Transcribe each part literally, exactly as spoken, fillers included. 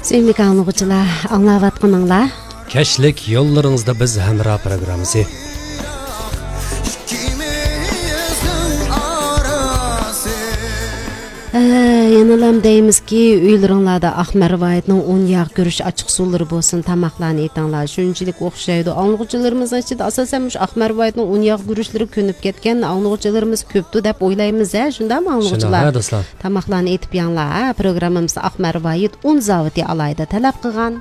سۆيۈملۈك ئاڭلىغۇچىلار، ئاڭلاۋاتقىنىڭلار كەچلىك يوللىرىڭىزدا بىز ھەمراھ پروگراممىسى. ئە، يەنىلا دەيمىزكى، ئۆيلىرىڭلاردا ئاق مەرۋايىتنىڭ ئۇن ياغ گۈرۈچ ئاچچىق سۇلىرى بولسۇن، تاماقلارنى ئېتىڭلار. شۇنچىلىك ئوخشايدۇ. ئاڭلىغۇچىلىرىمىزنىڭ ئىچىدە ئاساسەن مۇشۇ ئاق مەرۋايىتنىڭ ئۇن ياغ گۈرۈچلىرى كۆنۈپ كەتكەن ئاڭلىغۇچىلىرىمىز كۆپتۇ دەپ ئويلايمىز ھە، شۇنداقمۇ ئاڭلىغۇچىلار؟ شۇنداق ھە، دوستلار. تاماقلارنى ئېتىپ يەڭلار ھە. پروگراممىمىزدا ئاق مەرۋايىت ئۇن زاۋۇتى ئالاھىدە تەلەپ قىلغان.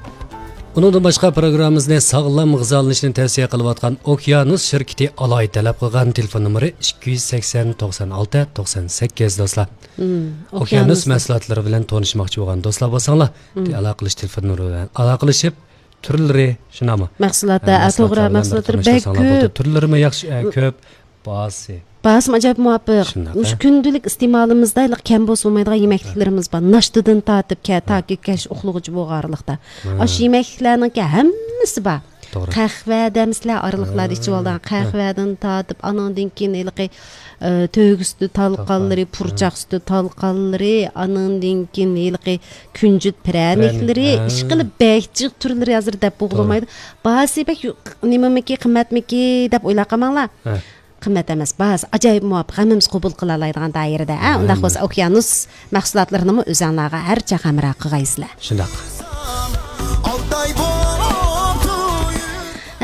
ئۇنىڭدىن باشقا، پروگراممىمىزنى ساغلام غىزالىنىشنى تەۋسىيە قىلىۋاتقان ئوكيانۇس شىركىتى ئالاھىدە تەلەپ قىلغان. تېلېفون نومۇرى ئىككى يۈز سەكسەن، توقسان ئالتە، توقسان سەككىز، دوستلار. مم، ئوكيانۇس ئوكيانۇس. مەھسۇلاتلىرى بىلەن تونۇشماقچى بولغان دوستلار بولساڭلار، مم. ئالاقىلىشىش تېلېفون نومۇرى بىلەن ئالاقىلىشىپ، تۈرلىرى شۇنداقمۇ؟ مەھسۇلاتتا، ھە، ئە، توغرا، مەھسۇلاتلار بىلەن مەھسۇلاتلىرى بىر بەك تونۇشساڭلار بولىدۇ. كۆپ. تۈرلىرىمۇ ياخشى، ئە، كۆپ. باھاسى. باھاسىمۇ ئاجايىپ مۇۋاپىق. شۇنداق، مۇشۇ ھە. كۈندىلىك ئىستېمالىمىزدا ھېلىقى كەم بولسا بولمايدىغان يېمەكلىكلىرىمىز بار. ناشتىدىن تارتىپ كە-، ھە. تاكى كەچ ئۇخلىغۇچە بولغانلىقتا. ھە. ئاشۇ يېمەكلىكلەرنىڭكى ھەممىسى بار. توغرا. قەھۋە دەمسىلەر ئارىلىقلاردا ھە. ئىچىۋالىدىغان ھە. قەھۋەدىن تارتىپ، ئانىڭدىن كېيىن ھېلىقى، ئە، تۆگە سۈتى تالقانلىرى، تالقان. پۇرچاق ھە. سۈتى تالقانلىرى، ئانىڭدىن كېيىن ھېلىقى كۈنجۈت پىرەنىكلىرى، پىرەنىك، ھە. ئىشقىلىپ بەك جىق تۈرلىرى ھازىر دەپ توغرا. بولغىلىمايدۇ. باھاسى بەك يۇ-، نېمىمىكى، قىممەتمىكى دەپ ئويلاپ قالماڭلار. ھە. قىممەت ئەمەس، باھاسى ئاجايىپ مۇۋاپىق، ھەممىمىز قوبۇل قىلالايدىغان دائىرىدە، ھە؟ ھە، ئۇنداق ھە. بولسا ئوكيانۇس مەھسۇلاتلىرىنىمۇ ئۆزۈڭلارغا ھەر چاغ ھەمراھ قىلغايسىلەر. شۇنداق.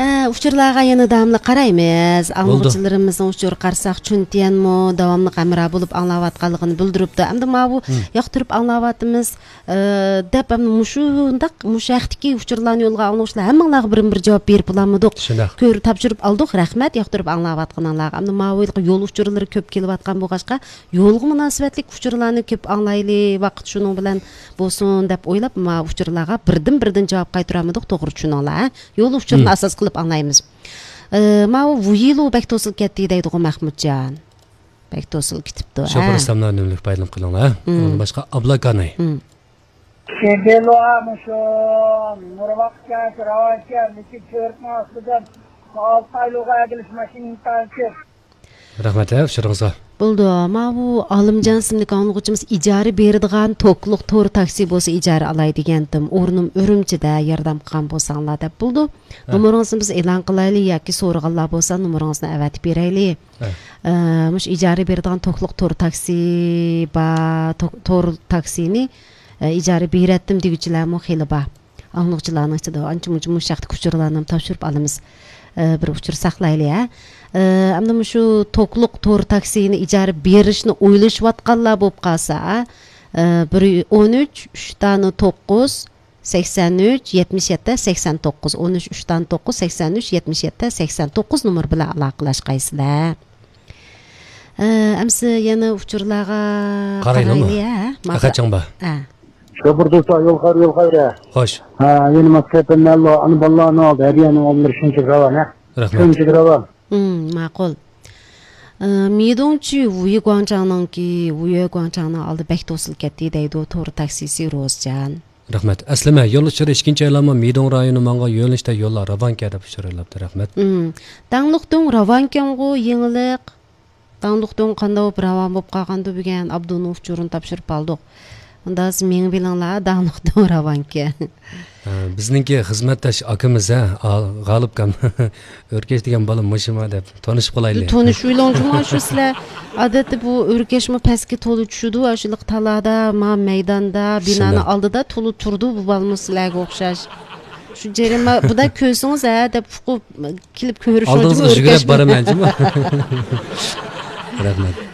ھە، ئۇچۇرلارغا يەنە داۋاملىق قارايمىز. بولدى. ئاڭلىغۇچىلىرىمىزنىڭ ئۇچۇرى قارىساق، چۈنتيەنمۇ داۋاملىق ھەمراھ بولۇپ ئاڭلاۋاتقانلىقىنى بىلدۈرۈپتۇ. ئەمدى ماۋۇ ھىم. ياقتۇرۇپ ئاڭلاۋاتىمىز. ئى، دەپ، ھەم مۇشۇنداق، مۇشۇ ھەقتىكى ئۇچۇرلارنى يولغا ئاڭلىغۇچىلار ھەممىڭلارغا بىرمۇ بىر جاۋاب بېرىپ بولالمىدۇق. شۇنداق. كۆرۈپ، تاپشۇرۇپ ئالدۇق، رەھمەت ياقتۇرۇپ ئاڭلاۋاتقىنىڭلارغا. ئەمدى ماۋۇ يىلقى يول ئۇچۇرلىرى كۆپ كېلىۋاتقان بولغاچقا، يولغا مۇناسىۋەتلىك ئۇچۇرلارنى كۆپ ئاڭلايلى، ۋاقىت شۇنىڭ بىلەن بولسۇن دەپ ئويلاپ، ماۋۇ ئۇچۇرلارغا بىردىن بىردىن جاۋاب قايتۇرالمىدۇق، توغرا چۈشىنىڭلار، ھە؟ يول ئۇچۇرىنى ھىم. ئاساس قىلىپ ئاڭلايمىز. ئى، ماۋۇ ۋۇيىلۇ بەك توسۇلۇپ كەتتى دەيدىغۇ مەخمۇتجان. بەك توسۇلۇپ كېتىپتۇ، شوپۇر ھە؟ ئىسلاملار ئۈنۈملۈك پايدىلىنىپ قېلىڭلار، ھە؟ مم. ئۇنىڭدىن باشقا ئابلاكاناي. مم. شېبېلۇ مۇشۇ نۇرۋاق كەنت راۋان كەنت، لېكىن تۈركنىڭ ئاستىدىن ئالتايلۇغا ئەگىلىش ماشىنا ئىنتايىن كۆپ. رەھمەت، ھە، ئۇچۇرىڭىزغا. بولدى، ماۋۇ ئالىمجان ئىسىملىك ئاڭلىغۇچىمىز ئىجارە بېرىدىغان توكلۇق تور تاكسى بولسا ئىجارە ئالاي دېگەنتىم. ئورنۇم ئۈرۈمچىدە، ياردەم قىلغان بولساڭلار دەپ بولدى. ھە. نومۇرىڭىزنى بىز ئېلان قىلايلى ياكى سورىغانلار بولسا نومۇرىڭىزنى ئەۋەتىپ بېرەيلى. ھە. ئە، مۇشۇ ئىجارە بېرىدىغان توكلۇق تور تاكسى بار، تو-، تور تاكسىنى، ئە، ئىجارە بېرەتتىم دېگۈچىلەرمۇ خېلى بار. ئاڭلىغۇچىلارنىڭ ئىچىدە ئانچە مۇنچە مۇشۇ ھەقتىكى ئۇچۇرلارنى تاپشۇرۇپ ئالىمىز. ئە، بىر ئۇچۇر ساقلايلى، ھە. ئە، ئەمدى مۇشۇ توكلۇق تور تاكسىنى ئىجارە بېرىشنى ئويلىشىۋاتقانلار بولۇپ قالسا، ئە، بىر ئون ئۈچ، ئۈچ دانە توققۇز، سەكسەن ئۈچ، يەتمىش يەتتە، سەكسەن توققۇز، ئون ئۈچ، ئۈچ دانە توققۇز، سەكسەن ئۈچ، يەتمىش يەتتە، سەكسەن توققۇز نومۇر بىلەن ئالاقىلەشكەيسىلەر. ئە، ئەمسە يەنە ئۇچۇرلارغا قارايلىمۇ؟ قارايلى، ھە؟ ماقۇل. ئەخەتجان بار. ھە. شوپۇر دوستلار، يول خەير، يول خەير. خوش. ھە، يەنە ماس كەپەنلەر، ئەنە بالىلارنىڭ ئالدى، ھەدىيەنىڭ ئالدىلىرى شۇنچە راۋان، ھە؟ رەھمەت. شۇنچە راۋان. ھىم، ماقۇل. ئە، مىدوڭچى ۋۇيى گۇاڭچاڭنىڭكى، ۋۇيى گۇاڭچاڭنىڭ ئالدى بەك توسۇلۇپ كەتتى دەيدۇ، تور تاكسىسى روزجان. رەھمەت. ئەسلىمە، يول ئۇچۇرى ئىككىنچى ئايلانما مىدوڭ رايونى ماڭغان يۆنىلىشتە يوللار راۋانكەن دەپ ئۇچۇر يوللاپتۇ. رەھمەت. ھىم. داڭلۇقدۇڭ راۋانكەنغۇ يېڭىلىق. داڭلۇقدۇڭ قانداق بولۇپ راۋان بولۇپ قالغاندۇ بۈگۈن؟ ئابدۇنىڭ ئۇچۇرىنى تاپشۇرۇپ ئالدۇق. ئۇندا سىز مېڭىپ بېرىڭلار، داڭلىقدۇڭ راۋانكەن. ھە، بىزنىڭكى خىزمەتداش ئاكىمىز، ھە، ئا-، غالىپكام. ئۆركەش دېگەن بالا مۇشۇما دەپ تونۇشۇپ قالايلى. تونۇشۇۋېلىڭ جۇمۇ شۇ سىلەر. ئادەتتە بۇ ئۆركەشمۇ پەسكە تولا چۈشىدۇ، ئاشۇلۇق تالادا، ما مەيداندا، بىنانىڭ شۇنداق. ئالدىدا تولا تۇرىدۇ بۇ بالىمۇ سىلەرگە ئوخشاش. شۇ جەريان ما-، بۇدا كۆرسىڭىز، ھە، دەپ ئۇقۇپ كېلىپ كۆرۈشۈڭ ئالدىڭىزغا جۇمۇ يۈگۈرۈپ ئۆركەشمۇ. بارىمەن جۇمۇ. رەھمەت.